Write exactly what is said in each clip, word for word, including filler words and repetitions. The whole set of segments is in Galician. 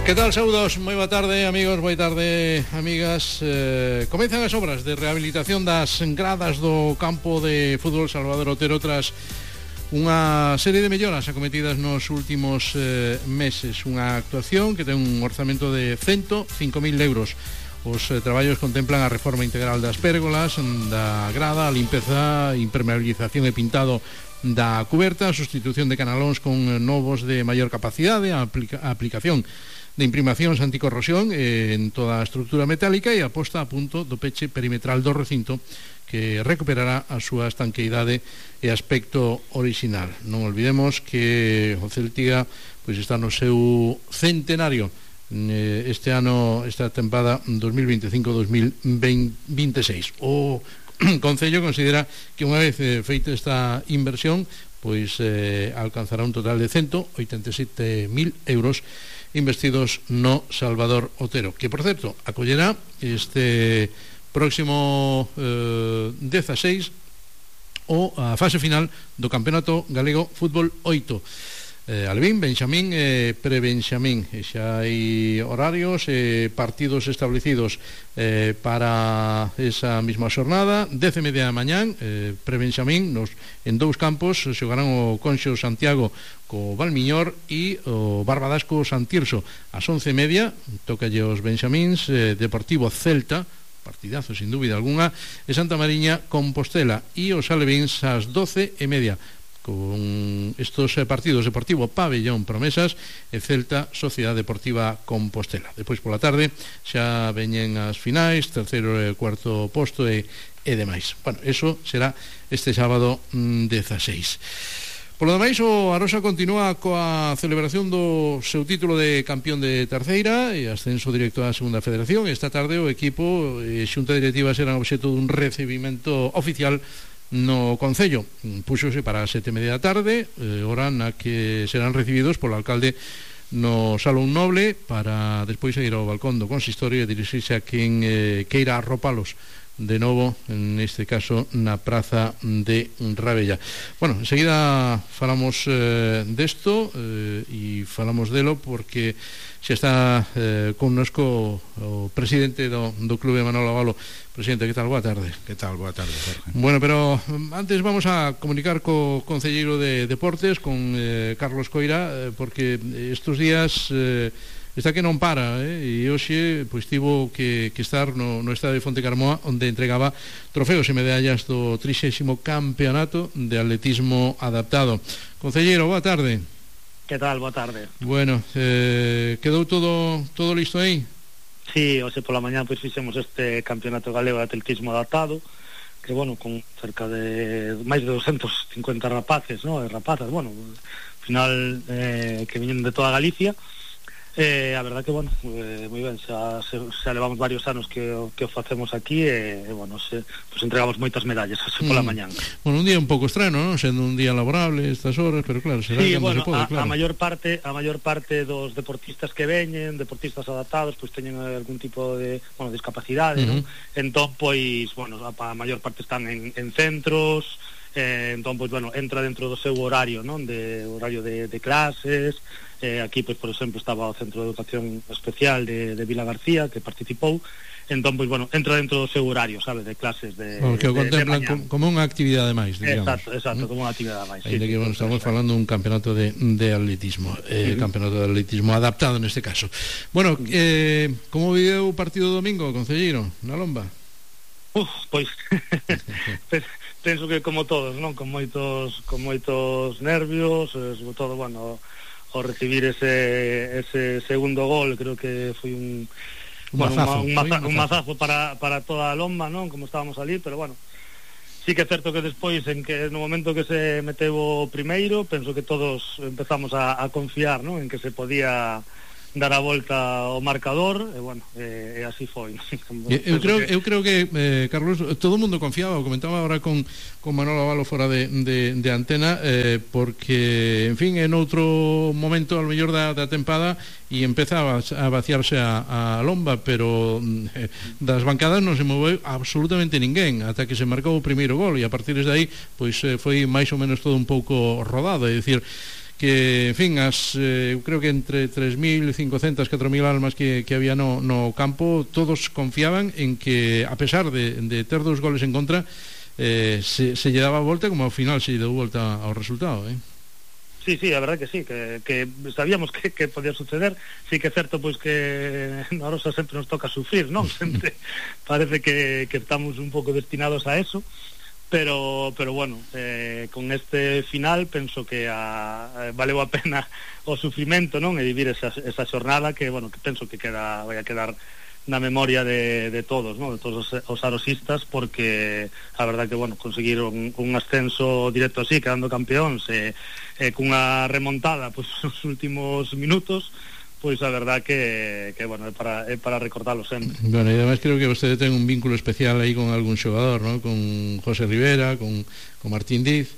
Que tal, saudos? Moi boa tarde, amigos, boa tarde, amigas. eh, Comezan as obras de rehabilitación das gradas do campo de fútbol Salvador Otero tras unha serie de melloras acometidas nos últimos eh, meses. Unha actuación que ten un orzamento de ciento cinco mil euros. Os eh, traballos contemplan a reforma integral das pérgolas, da grada, a limpeza, impermeabilización e pintado da cuberta, a sustitución de canalóns con novos de maior capacidade, a, aplica a aplicación de imprimacións anticorrosión eh, en toda a estructura metálica e a posta a punto do peche perimetral do recinto que recuperará a súa estanqueidade e aspecto orixinal. Non olvidemos que o Celtiga pois está no seu centenario eh, este ano, esta tempada dos mil veinticinco dos mil veintiséis. O Concello considera que unha vez eh, feita esta inversión pois eh, alcanzará un total de ciento oitenta e sete mil euros investidos no Salvador Otero, que por certo acollerá este próximo eh, dezasseis o a fase final do Campeonato Galego Fútbol oito. eh, Albín, Benxamín e eh, Prebenxamín, e xa hai horarios e eh, partidos establecidos eh, para esa mesma xornada. Dez e media da mañán, eh, Prebenxamín nos, en dous campos xogarán o Conxo Santiago co Valmiñor e o Barbadasco Santirso. Ás once e media tocalle os Benxamíns, eh, Deportivo Celta, partidazo sin dúbida alguna, e Santa Mariña Compostela, e os Alevíns ás doce e media con estos partidos: Deportivo Pabellón Promesas e Celta Sociedade Deportiva Compostela. Depois pola tarde xa veñen as finais, terceiro e cuarto posto e, e demais. Bueno, eso será este sábado mm, dezasseis. Polo demais, o Arosa continúa coa celebración do seu título de campeón de terceira e ascenso directo á segunda federación. Esta tarde o equipo e xunta directiva serán obxeto dun recibimento oficial no Concello. Púxose para as sete e media da tarde, eh, hora na que serán recibidos polo alcalde no Salón Noble, para despois ir ao balcón do consistorio e dirixirse a quen eh, queira arropalos de novo, neste caso na Praza de Rabella. Bueno, enseguida falamos eh, desto eh, e falamos delo porque xa está eh, connosco o presidente do, do Clube Manolo Abalo. Presidente, que tal? Boa tarde. Que tal? Boa tarde, Jorge. Bueno, pero antes vamos a comunicar co concelleiro de Deportes, con eh, Carlos Coira, eh, porque estes días eh, está que non para, eh? E hoxe pois tivo que, que estar no, no estadio de Fonte Carmoa, onde entregaba trofeos e medallas do trixésimo campeonato de atletismo adaptado. Concelleiro, boa tarde. Que tal? Boa tarde. Bueno, eh, quedou todo todo listo aí? Sí, hoxe pola mañá pois fixemos este campeonato galego de atletismo adaptado, que bueno, con cerca de máis de doscientos cincuenta rapaces, ¿no? E rapazas, bueno, ao final eh, que viñen de toda Galicia. Eh, a verdad que, bueno, eh, moi ben, xa, xa levamos varios anos que, que o facemos aquí e, eh, bueno, se, pues entregamos moitas medallas así pola mm. mañán. Bueno, un día un pouco estrano, non? Sendo un día laborable estas horas, pero claro, será sí, cando bueno, se pode, a, claro. a maior parte a maior parte dos deportistas que veñen, deportistas adaptados, pois pues, teñen algún tipo de, bueno, discapacidade, uh-huh. non? Entón, pois, bueno, a, a maior parte están en, en centros. Eh, entón, pois, bueno, entra dentro do seu horario, non? De horario de, de clases. Eh, aquí, pois, por exemplo, estaba o Centro de Educación Especial de, de Vila García, que participou. Entón, pois, bueno, entra dentro do seu horario, sabe, de clases de bueno, que o contemplan de, de como unha actividade máis, digamos. Exacto, exacto, ¿Mm? Como unha actividade máis. Ainda Sí, que, sí, bueno, sí, estamos sí, falando dun campeonato de, de atletismo, eh, uh-huh. campeonato de atletismo adaptado neste caso. Bueno, eh, como viveu o partido do domingo, concelleiro, na Lomba? Uf, pois penso que como todos, non? Con moitos con moitos nervios, eh, sobre todo, bueno, ao recibir ese ese segundo gol, creo que foi un un bueno, mazazo, un, maza, un mazazo para para toda a Lomba, non? Como estábamos ali, pero bueno, sí que é certo que despois, en que no momento que se meteu o primeiro, penso que todos empezamos a, a confiar, non? En que se podía dar a volta ao marcador e bueno, e, e así foi. eu creo que... eu creo que eh, Carlos, todo o mundo confiaba, o comentaba agora con, con Manolo Abalo fora de, de, de antena, eh, porque en fin, en outro momento ao mellor da, da tempada e empezaba a vaciarse a, a Lomba, pero eh, das bancadas non se moveu absolutamente ninguén ata que se marcou o primeiro gol, e a partir de aí pois eh, foi máis ou menos todo un pouco rodado, é dicir que, en fin, as, eh, eu creo que entre tres mil cincocentas, catro mil almas que, que había no, no campo, todos confiaban en que, a pesar de, de ter dos goles en contra, eh, se, se lle daba a volta, como ao final se lle deu volta ao resultado, eh? Sí, sí, a verdad que sí, que, que sabíamos que, que podía suceder. Sí que é certo pois que na Arosa sempre nos toca sufrir, non? Sempre parece que, que estamos un pouco destinados a eso, pero pero bueno, eh, con este final penso que a, a, valeu a pena o sufrimento, non? E vivir esa, esa xornada que, bueno, que penso que queda vai a quedar na memoria de, de todos, ¿no? De todos os, os arosistas, porque a verdad que, bueno, conseguiron un ascenso directo así, quedando campeóns, e, e cunha remontada, pois, pues, nos últimos minutos, pois pues, a verdad que, que bueno, é para, é para recordarlo sempre. Bueno, e además creo que vostede ten un vínculo especial aí con algún xogador, ¿no? Con José Rivera, con, con Martín Diz.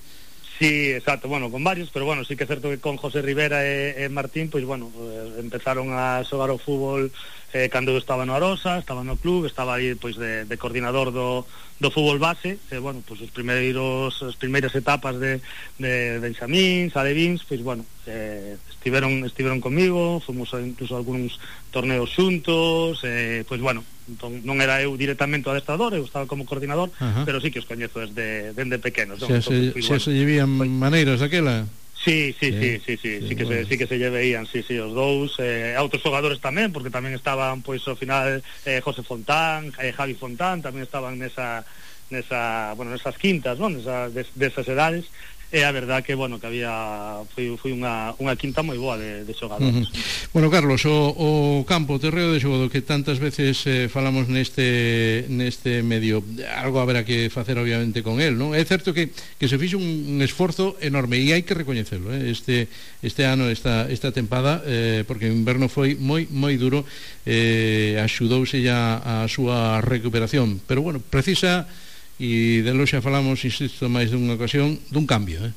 Sí, exacto, bueno, con varios, pero bueno, sí que é certo que con José Rivera e, e Martín, pois bueno, eh, empezaron a xogar o fútbol eh, cando eu estaba no Arosa, estaba no club, estaba aí pois de, de coordinador do, do fútbol base, e bueno, pois os primeiros as primeiras etapas de, de Benxamíns, Alevins, pois bueno, eh, estiveron estiveron comigo, fomos a, incluso a algúns torneos xuntos, eh, pois bueno, entón, non era eu directamente o adestrador, eu estaba como coordinador, uh-huh. Pero sí que os coñezo desde, desde pequenos, non? Xa se, entón, xa bueno, se llevían pues, maneiras daquela? Sí, sí, sí, sí, sí, sí, sí, sí que bueno. se, sí que se lle veían, sí, sí, os dous, eh, a outros xogadores tamén, porque tamén estaban, pois, ao final, eh, José Fontán, eh, Javi Fontán, tamén estaban nesa, nesa, bueno, nesas quintas, non? Nesa, des, desas edades, e a verdad que, bueno, que había foi, foi unha, unha quinta moi boa de, de xogadores. Uh-huh. Bueno, Carlos, o, o campo, o terreo de xogo do que tantas veces eh, falamos neste neste medio, algo haberá que facer obviamente con el, non? É certo que, que se fixo un, un esforzo enorme e hai que recoñecelo, eh? este, este ano, esta, esta tempada, eh, porque o inverno foi moi moi duro, eh, axudouse ya a súa recuperación, pero bueno, precisa, e de lo xa falamos, insisto, máis dunha ocasión, dun cambio, eh?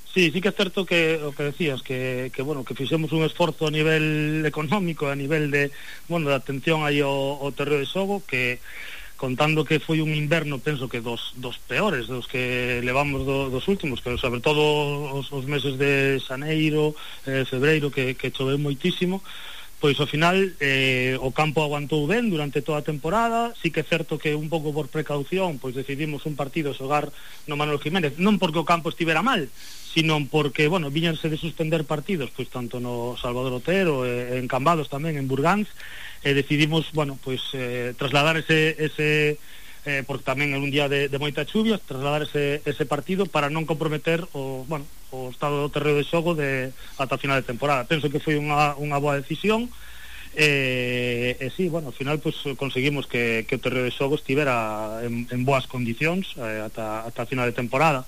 Sí, sí que é certo que o que decías, que, que bueno, que fixemos un esforzo a nivel económico, a nivel de, bueno, de atención aí ao, ao terreo de xogo, que contando que foi un inverno, penso que dos, dos peores, dos que levamos do, dos últimos, que sobre todo os, os meses de xaneiro, eh, febreiro, que, que choveu moitísimo, pois ao final eh, o campo aguantou ben durante toda a temporada. Sí que é certo que un pouco por precaución pois decidimos un partido xogar no Manuel Jiménez, non porque o campo estivera mal, sino porque, bueno, viñanse de suspender partidos, pois tanto no Salvador Otero, e en Cambados tamén, en Burgáns, e decidimos, bueno, pois eh, trasladar ese, ese eh, porque tamén é un día de, de moita chuvia, trasladar ese, ese partido para non comprometer o, bueno, o estado do terreo de xogo de, ata a final de temporada. Penso que foi unha, unha boa decisión, e, e sí, bueno, ao final pues, conseguimos que, que o terreo de xogo estivera en, en boas condicións eh, ata, ata a final de temporada.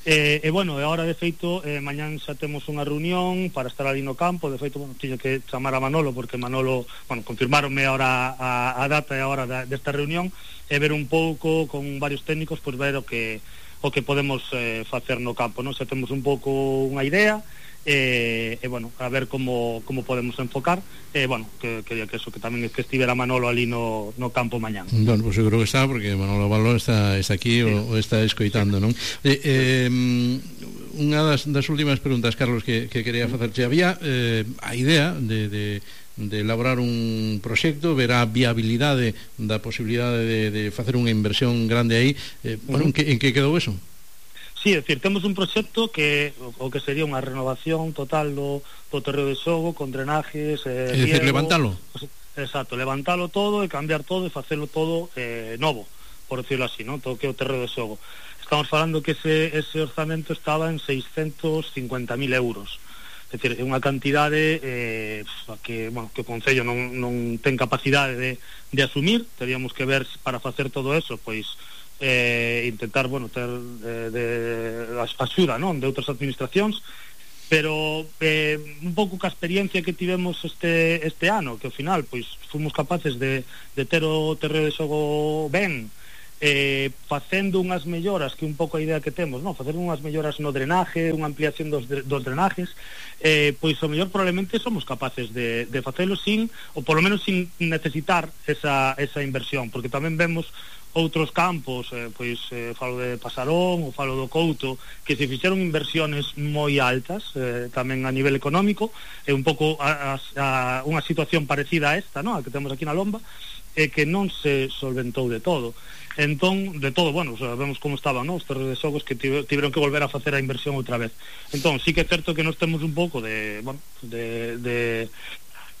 E, e bueno, e agora de feito eh, mañán xa temos unha reunión para estar ali no campo. De feito, bueno, tiño que chamar a Manolo, porque Manolo, bueno, confirmaronme ahora a, a data e a hora da, desta reunión, e ver un pouco con varios técnicos, pois ver o que o que podemos eh, facer no campo, non? Xa temos un pouco unha idea, e, e bueno, a ver como, como podemos enfocar, e bueno, que, que, que eso, que tamén é que estivera Manolo ali no, no campo mañán. Bueno, pues seguro que está, porque Manolo Balón está, está aquí, sí, o, o está escoitando, non? Eh, eh, unha das, das últimas preguntas, Carlos, que, que quería facerche, había eh, a idea de, de de elaborar un proxecto, ver a viabilidade da posibilidade de, de facer unha inversión grande aí, eh, bueno, en que, en que quedou eso? Sí, é dicir, temos un proxecto que o que sería unha renovación total do, do terreo de xogo, con drenajes, eh, é dicir, levantalo. Exacto, levantalo todo e cambiar todo e facelo todo eh, novo, por decirlo así, ¿no? Todo que o terreo de xogo. Estamos falando que ese, ese orzamento estaba en seiscentos cincuenta mil euros. É dicir, é unha cantidade eh, que, bueno, que o Concello non, non ten capacidade de, de asumir. Teríamos que ver para facer todo eso, pois eh, intentar, bueno, ter eh, de, axuda, non, de outras administracións, pero eh, un pouco ca experiencia que tivemos este, este ano, que ao final, pois, fomos capaces de, de ter o terreo de xogo ben, eh, facendo unhas melloras, que un pouco a idea que temos, non? Facer unhas melloras no drenaje, unha ampliación dos, dos drenajes, eh, pois o mellor probablemente somos capaces de, de facelo sin, ou polo menos sin necesitar esa, esa inversión, porque tamén vemos outros campos, eh, pois eh, falo de Pasarón ou falo do Couto, que se fixeron inversiones moi altas, eh, tamén a nivel económico, é un pouco a, a, a unha situación parecida a esta, no? A que temos aquí na Lomba, e que non se solventou de todo. Entón, de todo, bueno, sabemos como estaban, no? Os terreos de xogos que tiveron que volver a facer a inversión outra vez. Entón, sí que é certo que nos temos un pouco de, bueno, de, de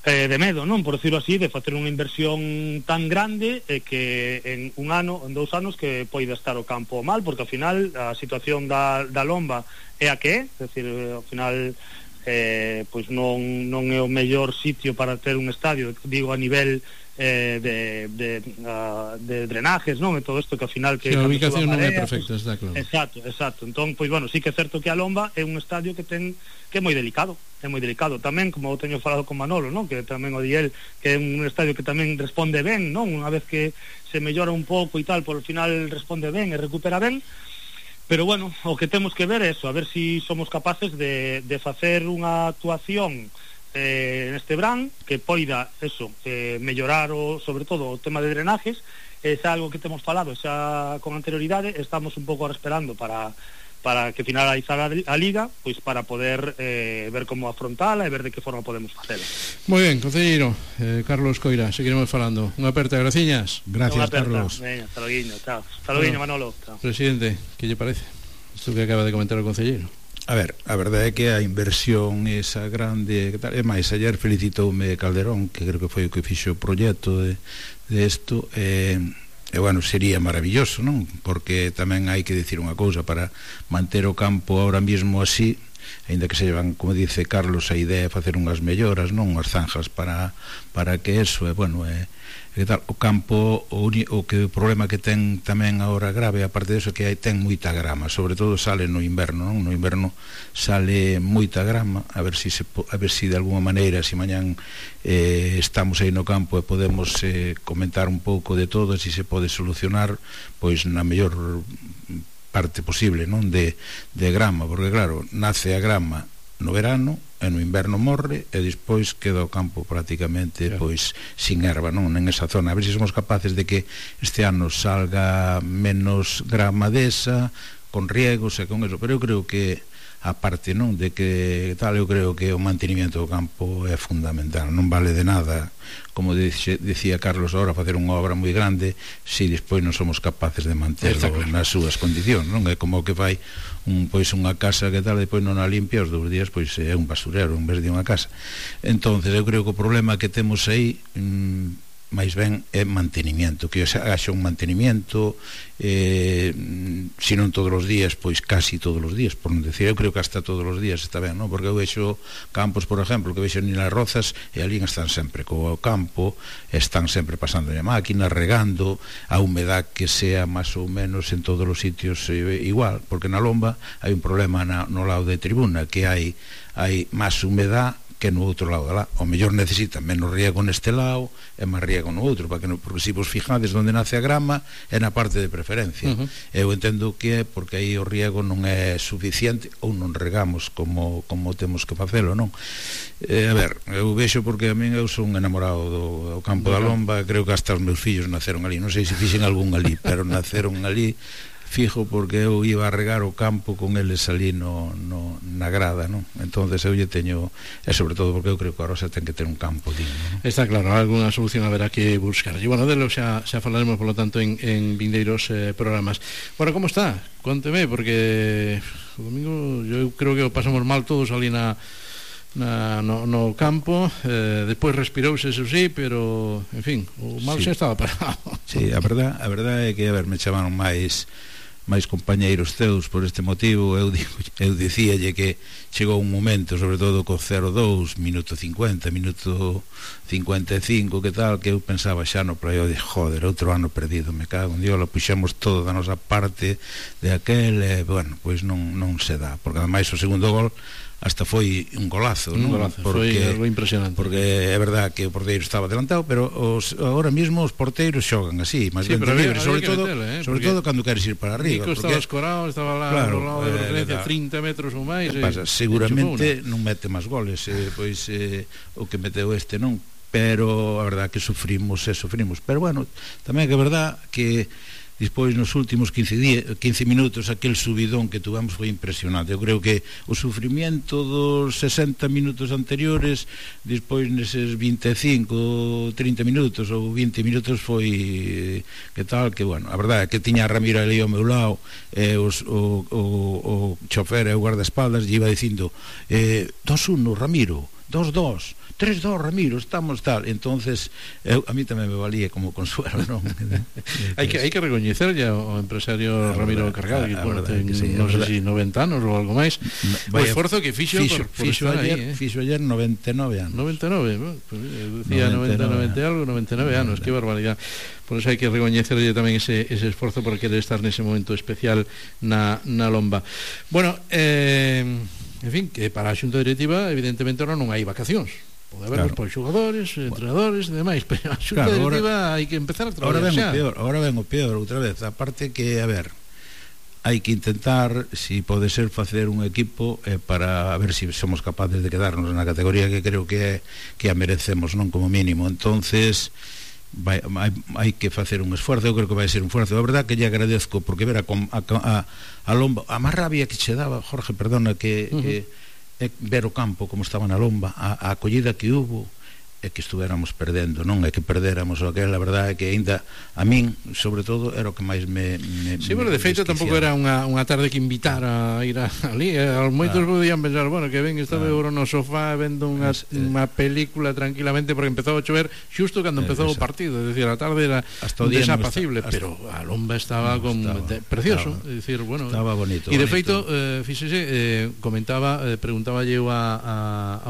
eh, de medo, non? Por decirlo así, de facer unha inversión tan grande e eh, que en un ano, en dous anos que poida estar o campo mal, porque ao final a situación da, da Lomba é a que é, é dicir, ao final eh, pois non, non é o mellor sitio para ter un estadio, digo a nivel eh, de, de, uh, de drenajes, non? E todo isto que ao final que sí, a ubicación non é marea, perfecta, pues, está claro. Exacto, exacto. Entón, pois bueno, sí que é certo que a Lomba é un estadio que ten que é moi delicado, é moi delicado tamén, como teño falado con Manolo, non? Que tamén o di el, que é un estadio que tamén responde ben, non? Unha vez que se mellora un pouco e tal, por o final responde ben e recupera ben. Pero bueno, o que temos que ver é eso, a ver se si somos capaces de, de facer unha actuación eh, neste verán que poida eso, eh, mellorar o, sobre todo o tema de drenajes. É algo que temos falado xa con anterioridade, estamos un pouco esperando para para que finalizar a, a liga, pois para poder eh, ver como afrontala e ver de que forma podemos facela. Moi ben, concelleiro eh, Carlos Coira, seguiremos falando. Unha aperta, graciñas. Gracias, Carlos. Veña, hasta loguinho, chao. Hasta loguinho, bueno, Manolo. Chao. Presidente, que lle parece isto que acaba de comentar o concelleiro? A ver, a verdade é que a inversión esa grande, que tal, e máis, ayer felicitoume Calderón, que creo que foi o que fixo o proxecto de, de isto, e, e bueno, sería maravilloso, non? Porque tamén hai que dicir unha cousa, para manter o campo ahora mismo así, ainda que se llevan, como dice Carlos, a idea de facer unhas melloras, non? Unhas zanjas para, para que eso, e bueno, é que tal, o campo o, uni, o que o problema que ten tamén agora grave, aparte disso, que hai ten moita grama, sobre todo sale no inverno, non? No inverno sale moita grama, a ver si se, a ver si de alguma maneira, se si mañán eh, estamos aí no campo e podemos eh, comentar un pouco de todo, se si se pode solucionar, pois na mellor parte posible, non? De, de grama, porque claro, nace a grama no verano e no inverno morre e despois queda o campo prácticamente claro, pois sin erva, non? En esa zona. A ver se somos capaces de que este ano salga menos grama desa, con riegos e con eso, pero eu creo que a parte, non, de que tal, eu creo que o mantenimiento do campo é fundamental, non vale de nada, como dixe, dicía Carlos agora, facer unha obra moi grande se si despois non somos capaces de manterlo claro, nas súas condicións, non? É como que fai un, pois unha casa que tal, depois non a limpia, os dous días pois é un basurero en vez de unha casa. Entonces eu creo que o problema que temos aí mmm, máis ben é mantenimiento, que haxa un mantenimiento eh, se non todos os días, pois casi todos os días, por non decir, eu creo que hasta todos os días está ben, non? Porque eu vexo campos, por exemplo, que vexo ni nas rozas e ali están sempre co campo, están sempre pasando a máquina, regando, a humedad que sea máis ou menos en todos os sitios eh, igual, porque na Lomba hai un problema na, no lado de tribuna, que hai hai máis humedad que no outro lado da lá. O mellor necesita menos riego neste lado e máis riego no outro, para que no, porque se vos fijades onde nace a grama é na parte de preferencia. Uh -huh. Eu entendo que é porque aí o riego non é suficiente ou non regamos como, como temos que facelo, non? Eh, a ver, eu vexo porque a min eu son enamorado do, do campo da Lomba, creo que hasta os meus fillos naceron ali, non sei se fixen algún ali, pero naceron ali fijo, porque eu iba a regar o campo con eles ali no, no, na grada, non? Entonces eu lle teño, e sobre todo porque eu creo que a Rosa ten que ter un campo digno, non? Está claro, alguna solución haberá que buscar. E bueno, delo xa, xa falaremos, por lo tanto, en, en vindeiros eh, programas. Bueno, como está? Conteme, porque o domingo eu creo que o pasamos mal todos ali na Na, no, no campo, eh, despois respirouse, eso sí, pero en fin, o mal sí, xa estaba parado. Sí, a verdad, a verdad é que, a ver, me chamaron máis máis compañeiros teus por este motivo. Eu, digo, eu dicíalle que chegou un momento, sobre todo co cero dous, minuto cincuenta, minuto cincuenta e cinco, que tal, que eu pensaba xa no play, de joder, outro ano perdido, me cago en Dios, lo puxemos todo da nosa parte de aquel, e, bueno, pois non, non se dá, porque ademais o segundo gol hasta foi un golazo, un non? Golazo, porque, foi algo impresionante. Porque é verdad que o porteiro estaba adelantado, pero os, agora mismo os porteiros xogan así, máis sí, ben libres, sobre todo, metele, eh? sobre todo cando queres ir para arriba. Nico porque estaba escorado, estaba lá claro, no lado de eh, referencia, trinta metros ou máis. Que pasa? Seguramente non mete máis goles, eh, pois eh, o que meteu este non, pero a verdad que sufrimos e sufrimos. Pero bueno, tamén é que é verdad que despois nos últimos quince, días, quince minutos aquel subidón que tuvamos foi impresionante. Eu creo que o sufrimiento dos sesenta minutos anteriores, despois neses vinte e cinco, trinta minutos ou vinte minutos foi que tal, que bueno, a verdade é que tiña a Ramiro ali ao meu lado, e os, o, o, o chofer e o guardaespaldas lle iba dicindo eh, dos uno Ramiro, dos dos, tres dos Ramiro, estamos tal. Entonces eu, a mí tamén me valía como consuelo, non? hai que hai que recoñecerlle ao empresario Ramiro Cargado, que bueno, ten, sí, non sei se noventa anos ou algo máis, o esforzo que fixo, fixo, por, por fixo ayer, aí, eh? fixo ayer noventa e nove anos. noventa e nove, bueno, pues, eu decía noventa, noventa e algo, noventa e nove anos, que barbaridade. Por eso hai que recoñecerlle tamén ese, ese esforzo por querer estar nese momento especial na, na lomba. Bueno, eh, en fin, que para a xunta directiva evidentemente ahora non hai vacacións. Pode haberlos, claro, por xogadores, entrenadores e demais, pero a xunta, claro, directiva hai que empezar a traballar. Ahora ven o peor, ahora ven o peor outra vez. Aparte que, a ver, hai que intentar, si pode ser, facer un equipo eh, para a ver se si somos capaces de quedarnos na categoría que creo que é, que a merecemos, non, como mínimo. Entonces vai, hai, hai que facer un esforzo. Eu creo que vai ser un esforzo. A verdade que lle agradezco, porque ver a, a, a, a lomba, a máis rabia que che daba, Jorge, perdona, que, uh -huh. que é ver o campo como estaba na lomba, a, a acollida que hubo, é que estuéramos perdendo, non é que perdéramos o aquel. A verdade é que aínda a min, sobre todo, era o que máis me, me sí, bueno, de feito tampouco era unha, unha tarde que invitara a ir a, ali, eh, moitos claro. Podían pensar, bueno, que ben estaba claro. no sofá vendo unha, es, eh, unha película tranquilamente, porque empezou a chover xusto cando empezou eh, o partido, é dicir, a tarde era desapacible, no pero a lomba estaba, no, con, estaba de, precioso, é dicir, bueno, estaba bonito, e de bonito. feito, eh, fíxese, eh, comentaba, eh, preguntaba eu a, a,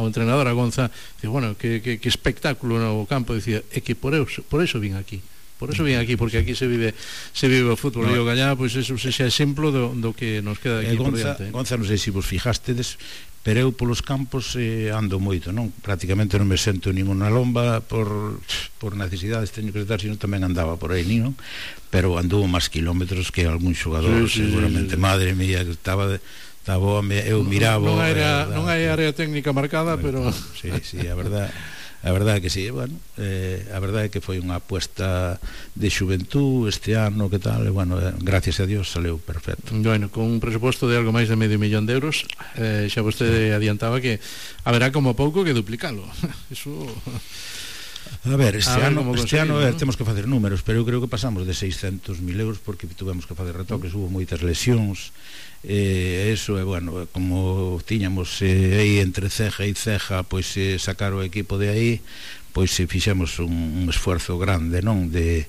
ao entrenador, a Gonza, dice, bueno, que, que, que espectáculo no campo, dicía, é que por eso, por eso vin aquí. Por eso vin aquí, porque aquí se vive se vive o fútbol. No. E o Gallá, pois pues, eso se xa exemplo do, do que nos queda aquí eh, Gonza, por diante. Gonza, non sei se vos fijastedes, pero eu polos campos eh, ando moito, non? Prácticamente non me sento ninguna lomba por, por necesidades, teño que estar, senón tamén andaba por aí, non? Pero anduvo máis kilómetros que algún xogador, sí, sí, seguramente, sí, sí. Madre mía, que estaba de, estaba, eu miraba. Non, non, era, non hai área técnica marcada, bueno, pero sí, sí, a verdade. A verdade é que sí, bueno, eh, a verdade é que foi unha apuesta de xuventud este ano, que tal, e bueno, eh, gracias a Dios saleu perfecto. Bueno, con un presuposto de algo máis de medio millón de euros, eh, xa vostede adiantaba que haberá como pouco que duplicalo. Eso... A ver, este a ver ano, este ano eh, ¿no? Temos que facer números, pero eu creo que pasamos de seiscentos mil euros porque tuvemos que facer retoques, hubo moitas lesións, e eh, eso, é eh, bueno, como tiñamos eh, aí entre ceja e ceja, pois eh, sacar o equipo de aí, pois eh, fixemos un, un esforzo grande, non, de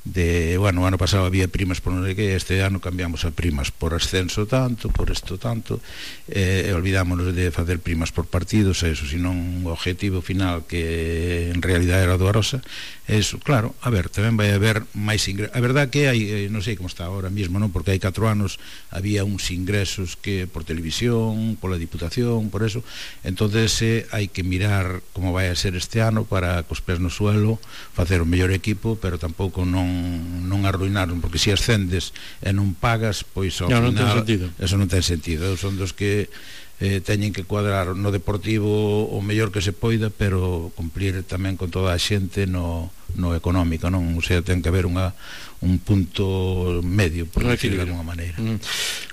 de, bueno, o ano pasado había primas por non sei que, este ano cambiamos a primas por ascenso tanto, por isto tanto, e eh, olvidámonos de facer primas por partidos, eso, senón o objetivo final que en realidad era do Arosa, eso, claro, a ver, tamén vai haber máis ingresos. A verdade que hai, eh, non sei como está ahora mismo, non, porque hai catro anos había uns ingresos que por televisión, pola Diputación, por eso, entonces eh, hai que mirar como vai a ser este ano para cos pés no suelo facer o mellor equipo, pero tampouco non non arruinaron, porque se ascendes e non pagas, pois ao no, final non ten sentido. Eso non ten sentido. Eu son dos que eh, teñen que cuadrar no deportivo o mellor que se poida, pero cumplir tamén con toda a xente no, no económico, non? O sea, ten que haber unha, un punto medio, por decirlo de alguma maneira. Mm.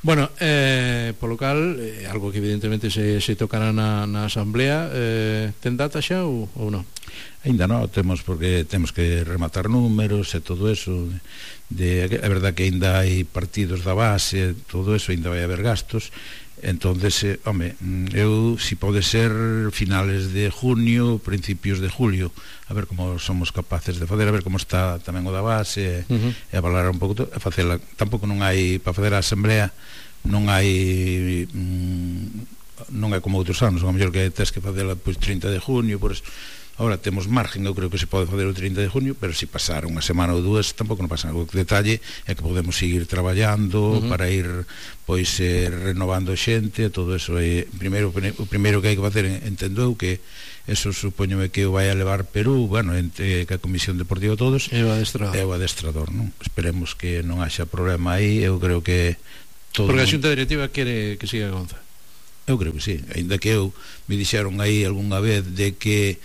Bueno, eh, polo cal, eh, algo que evidentemente se, se tocará na, na asamblea, eh, ten data xa ou, ou non? Ainda non, temos, porque temos que rematar números e todo eso, de, é verdad que ainda hai partidos da base, todo eso, ainda vai haber gastos. Entonces, eh, home, eu, si pode ser finales de junio, principios de julio, a ver como somos capaces de facer, a ver como está tamén o da base, uh -huh. e a valorar un pouco, e facela. Tampouco non hai, para facer a asamblea, non hai, mm, non é como outros anos, a mellor que tes que facela pois trinta de junio, por eso. Ahora temos margen, eu creo que se pode fazer o trinta de junio, pero se pasar unha semana ou dúas tampouco non pasa nada. O detalle é que podemos seguir traballando, uh -huh. para ir pois eh, renovando xente, todo eso. E primeiro, o primeiro que hai que facer, entendo eu, que eso supoñome que o vai a levar Perú, bueno, entre que a Comisión Deportiva todos, é o adestrador, é o adestrador, non? Esperemos que non haxa problema aí. Eu creo que todo. Porque a xunta directiva quere que siga Gonza. Eu creo que sí, ainda que eu me dixeron aí algunha vez de que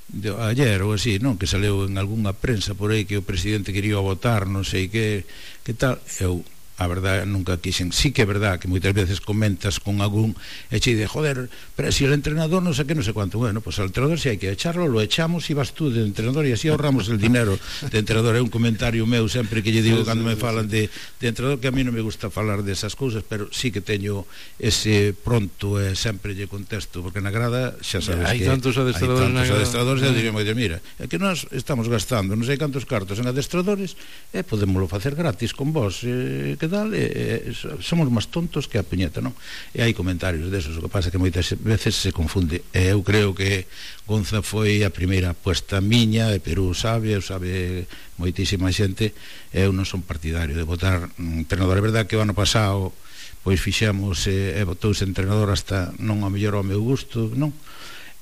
de, ayer ou así, non, que saleu en algunha prensa por aí que o presidente quería votar, non sei que, que tal. Eu a verdade nunca quixen, sí que é verdad que moitas veces comentas con algún e che de, joder, pero si el entrenador non sei que, non sei cuánto, bueno, pues al entrenador si hai que echarlo, lo echamos e vas tú de entrenador e así ahorramos el dinero de entrenador. É un comentario meu sempre que lle digo cando me falan de, de entrenador, que a mí non me gusta falar desas cousas, pero sí que teño ese pronto e sempre lle contesto, porque na grada xa sabes hai que tantos adestradores, hai tantos adestradores e digo, mira, é que nós estamos gastando non sei cantos cartos en adestradores e podémoslo facer gratis con vos, eh, que tal, e, e, somos máis tontos que a puñeta, non? E hai comentarios desos, o que pasa que moitas veces se confunde, e eu creo que Gonza foi a primeira apuesta miña, e Perú sabe, eu sabe moitísima xente, e eu non son partidario de votar entrenador. É verdade que o ano pasado pois fixemos e, e votouse entrenador hasta non a mellor ao meu gusto, non?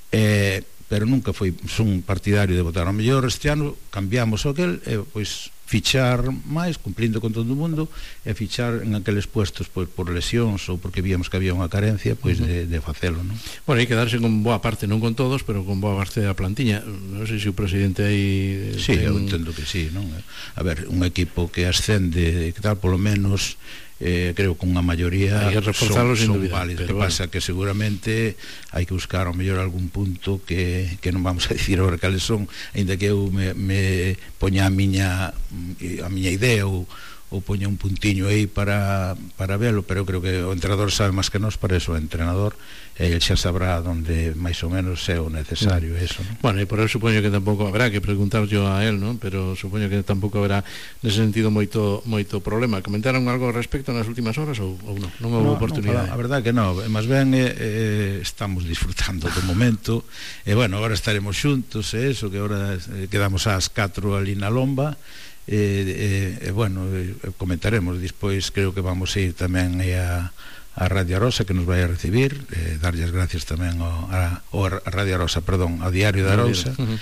E, pero nunca foi son partidario de votar. Ao mellor este ano cambiamos o aquel e pois fichar máis, cumplindo con todo o mundo, e fichar en aqueles puestos pois, por lesións ou porque víamos que había unha carencia pois uh -huh. de, de facelo, non? Bueno, hai que darse con boa parte, non con todos, pero con boa parte da plantiña. Non sei se o presidente aí... Sí, ten... eu entendo que sí, non? A ver, un equipo que ascende, que tal, polo menos... Eh, creo que unha maioría son, son válidos. Que bueno. Pasa que seguramente hai que buscar ao mellor algún punto que, que non vamos a dicir agora cales son, ainda que eu me, me poña a miña a miña idea ou, ou poña un puntiño aí para, para velo, pero eu creo que o entrenador sabe máis que nós, para eso o entrenador e el xa sabrá onde máis ou menos é o necesario, mm. eso, ¿no? Bueno, e por eso supoño que tampouco habrá que preguntar yo a él, ¿no? Pero supoño que tampouco habrá nese sentido moito moito problema. Comentaron algo ao respecto nas últimas horas ou, ou non? Non houve no, oportunidade? No, a verdade que non, máis ben eh, eh, estamos disfrutando do momento e bueno, agora estaremos xuntos e eso, que agora eh, quedamos ás catro ali na lomba e eh, eh, bueno, eh, comentaremos despois, creo que vamos a ir tamén a a Radio Arosa, que nos vai a recibir, eh, darlle as gracias tamén ao, a, ao a Radio Arosa, perdón, ao Diario da Arousa, uh-huh.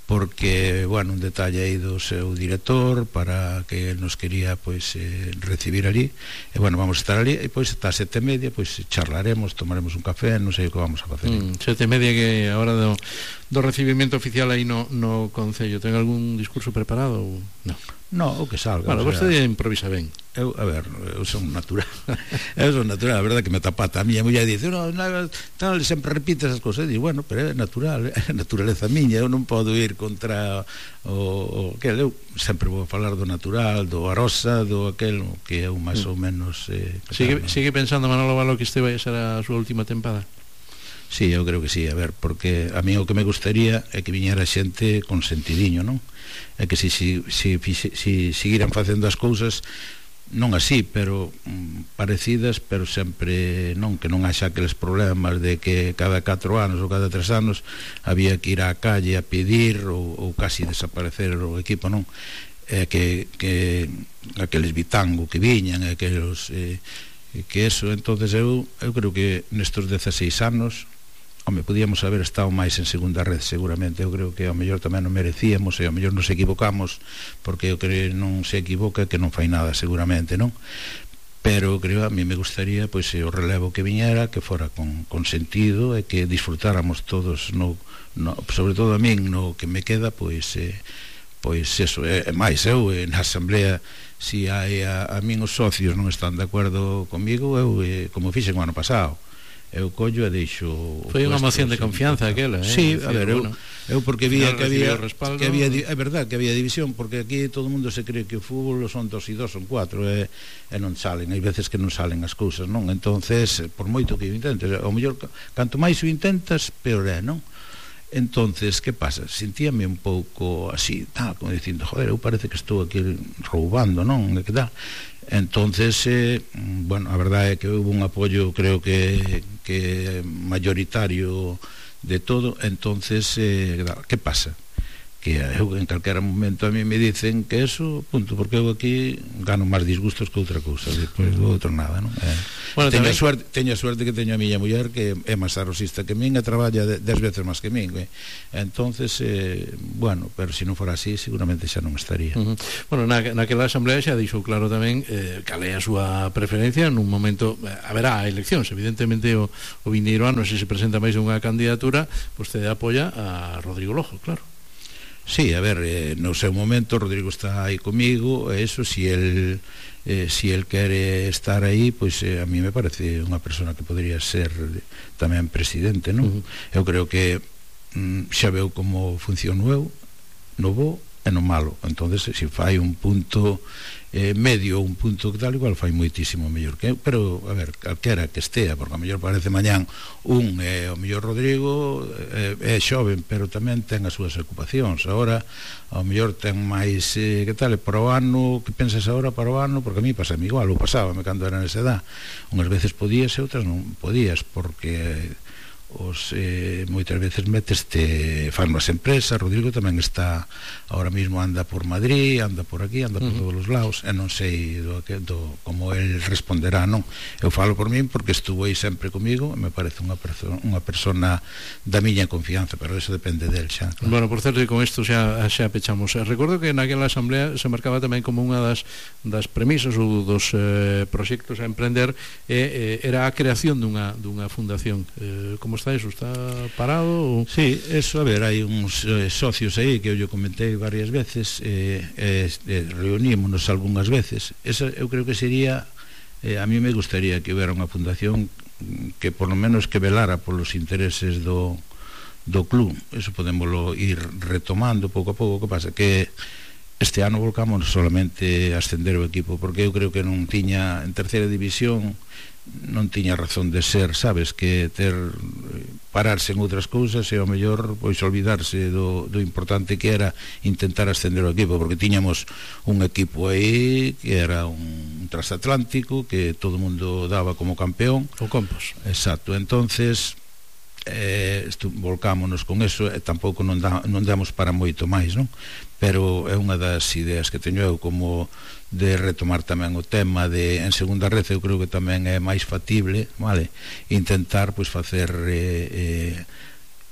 porque, bueno, un detalle aí do seu director para que él nos quería pois eh, recibir ali, e bueno, vamos a estar ali e pois ata sete e media pois charlaremos, tomaremos un café, non sei o que vamos a facer. Mm, sete e media, que a hora do, do recibimento oficial aí no, no Concello. Ten algún discurso preparado ou non? No, o que salga. Bueno, o sea, vostede improvisa ben. Eu, a ver, eu son natural. eu son natural, a verdade que me tapata. A miña muller dice, no, no, tal, sempre repite esas cosas. E digo, bueno, pero é natural, é naturaleza miña, eu non podo ir contra o, o que eu sempre vou falar do natural, do Arosa, do aquel que eu máis mm. ou menos eh, sigue, tal, sigue pensando Manolo Valo que este vai a ser a súa última tempada? Sí, eu creo que sí, a ver, porque a mí o que me gustaría é que viñera xente con sentidiño, non? É que si, si, si, si, si seguiran facendo as cousas non así, pero mm, parecidas, pero sempre non, que non haxa aqueles problemas de que cada catro anos ou cada tres anos había que ir á calle a pedir ou, ou casi desaparecer o equipo, non? É que, que aqueles bitango que viñan, aqueles eh, que eso, entonces eu, eu creo que nestos dezaseis anos, home, podíamos haber estado máis en segunda red seguramente. Eu creo que ao mellor tamén non merecíamos e ao mellor nos equivocamos, porque eu creo que non se equivoca que non fai nada seguramente, non? Pero creo, a mí me gustaría pois o relevo que viñera, que fora con, con sentido e que disfrutáramos todos no, no, sobre todo a min no que me queda, pois eh, pois eso, é, é máis eu na asamblea, si hai a, a min os socios non están de acordo comigo, eu eh, como fixen o ano pasado, eu collo e deixo. Foi unha moción de confianza aquela, eh? Sí, a ver, eu, eu porque vía que había, que había, é verdad que había división, porque aquí todo o mundo se cree que o fútbol son dos e dos, son cuatro, e, e non salen, hai veces que non salen as cousas, non? Entonces, por moito que o intentes, ao mellor, canto máis o intentas, peor é, non? Entonces, que pasa? Sentíame un pouco así, tal, como dicindo, joder, eu parece que estou aquí roubando, non? Que tal? Entonces, eh, bueno, a verdade é que houve un apoio, creo que, que mayoritario de todo. Entonces, eh, que pasa? que eu en calquera momento a mí me dicen que eso, punto, porque eu aquí gano máis disgustos que outra cousa, depois do outro nada, non? Eh, bueno, teño, a suerte, teño a suerte que teño a miña muller que é máis arrosista que min e traballa dez veces máis que min, eh? Entonces, eh, bueno, pero se non fora así seguramente xa non estaría. Uh -huh. Bueno, na, naquela asamblea xa dixo claro tamén eh, cal é a súa preferencia nun momento, eh, haberá eleccións, evidentemente o, o vindeiro ano se se presenta máis unha candidatura, vostede apoia a Rodrigo Lojo, claro. Sí, a ver, eh, no seu momento Rodrigo está aí comigo, eso, si el eh, si el quere estar aí, pois eh, a mí me parece unha persona que podría ser tamén presidente, non? Uh -huh. Eu creo que mm, xa veu como funciono eu, no bo e no malo, entonces se fai un punto eh, medio, un punto que tal, igual fai moitísimo mellor que eu, pero a ver, calquera que estea, porque a mellor parece mañán un, eh, o mellor Rodrigo eh, é xoven, pero tamén ten as súas ocupacións, agora ao mellor ten máis, eh, que tal, para o ano, que pensas agora para o ano, porque a mí pasa igual, ou pasábame cando era nesa edad, unhas veces podías e outras non podías, porque os eh, moitas veces meteste fan as empresas. Rodrigo tamén está ahora mismo, anda por Madrid, anda por aquí, anda por uh -huh. todos os lados, e non sei do, do, como el responderá, non? Eu falo por min porque estuvo aí sempre comigo, me parece unha persona, unha persona da miña confianza, pero eso depende del xa, claro. Bueno, por certo, e con isto xa, xa pechamos. Recordo que naquela asamblea se marcaba tamén como unha das, das premisas ou dos eh, proxectos a emprender eh, eh, era a creación dunha, dunha fundación. Eh, como está eso? Está parado? Ou... Sí, eso, a ver, hai uns eh, socios aí que eu yo comentei varias veces, eh, eh, eh, reunímonos algunhas veces. Esa eu creo que sería, eh, a mí me gustaría que hubiera unha fundación que por lo menos que velara polos intereses do, do club. Eso podémoslo ir retomando pouco a pouco. Que pasa? Que este ano volcamos solamente a ascender o equipo, porque eu creo que non tiña, en terceira división non tiña razón de ser, sabes, que ter pararse en outras cousas e ao mellor pois olvidarse do, do importante que era intentar ascender o equipo, porque tiñamos un equipo aí que era un transatlántico que todo o mundo daba como campeón, o Compos. Exacto, entonces eh, volcámonos con eso e tampouco non, da, non damos para moito máis, non? Pero é unha das ideas que teño eu, como de retomar tamén o tema de en segunda red. Eu creo que tamén é máis factible, vale, intentar pois facer eh, eh,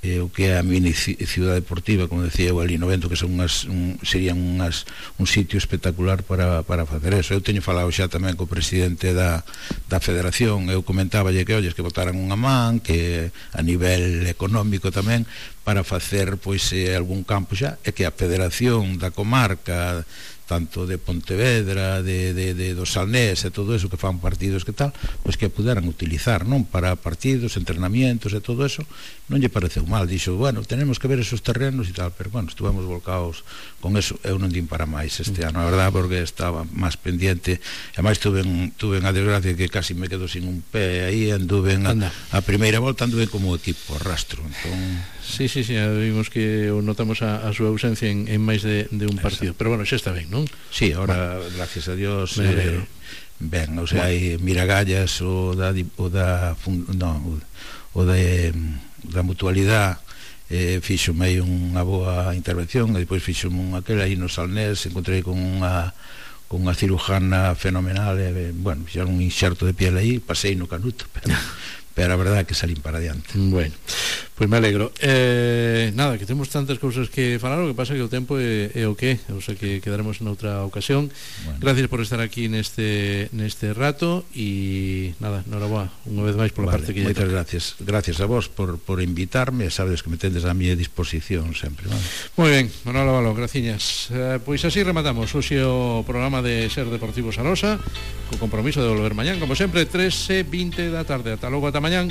eh, o que é a mini ciudad deportiva, como decía eu ali no Vento, que son unhas, un, serían unhas, un sitio espectacular para, para facer eso. Eu teño falado xa tamén co presidente da, da federación, eu comentáballe que olles que botaran unha man, que a nivel económico tamén, para facer pois eh, algún campo xa, e que a federación da comarca, tanto de Pontevedra, de, de, de do Salnés e todo eso, que fan partidos que tal, pois que puderan utilizar, non, para partidos, entrenamientos e todo eso. Non lle pareceu mal, dixo, bueno, tenemos que ver esos terrenos e tal, pero bueno, estuvemos volcados con eso. Eu non din para máis este ano, a verdad, porque estaba máis pendiente, e máis tuve, tuve a desgracia que casi me quedo sin un pé aí, anduve a, a primeira volta anduve como equipo rastro, entón... Sí, sí, sí, vimos que notamos a, a súa ausencia en, en máis de, de un partido. Pero bueno, xa está ben, non? Sí, ahora, bueno, gracias a Dios, eh, ben, o sea, bueno, hai Miragallas, o da, o da no, o de, da mutualidade, eh, fixome aí unha boa intervención, e depois fixome un aquel aí no Salnés, encontrei con unha con unha cirujana fenomenal, e, bueno, xa un inxerto de piel aí, pasei no canuto, pero... pero a verdade é que salín para adiante. Bueno, pois me alegro. Eh, nada, que temos tantas cousas que falar, o que pasa que o tempo é, é o que, o sea que quedaremos noutra ocasión. Bueno. Gracias por estar aquí neste neste rato e nada, noraboa unha vez máis pola vale, parte que lle moitas gracias. Gracias a vos por, por invitarme, sabes que me tendes a miña disposición sempre, vale? Moi ben, Manuel Avalo, graciñas. Eh, pois así rematamos hoxe o programa de Ser Deportivo Sarosa, co compromiso de volver mañán, como sempre, tres e vinte da tarde. Ata logo, ata mañán.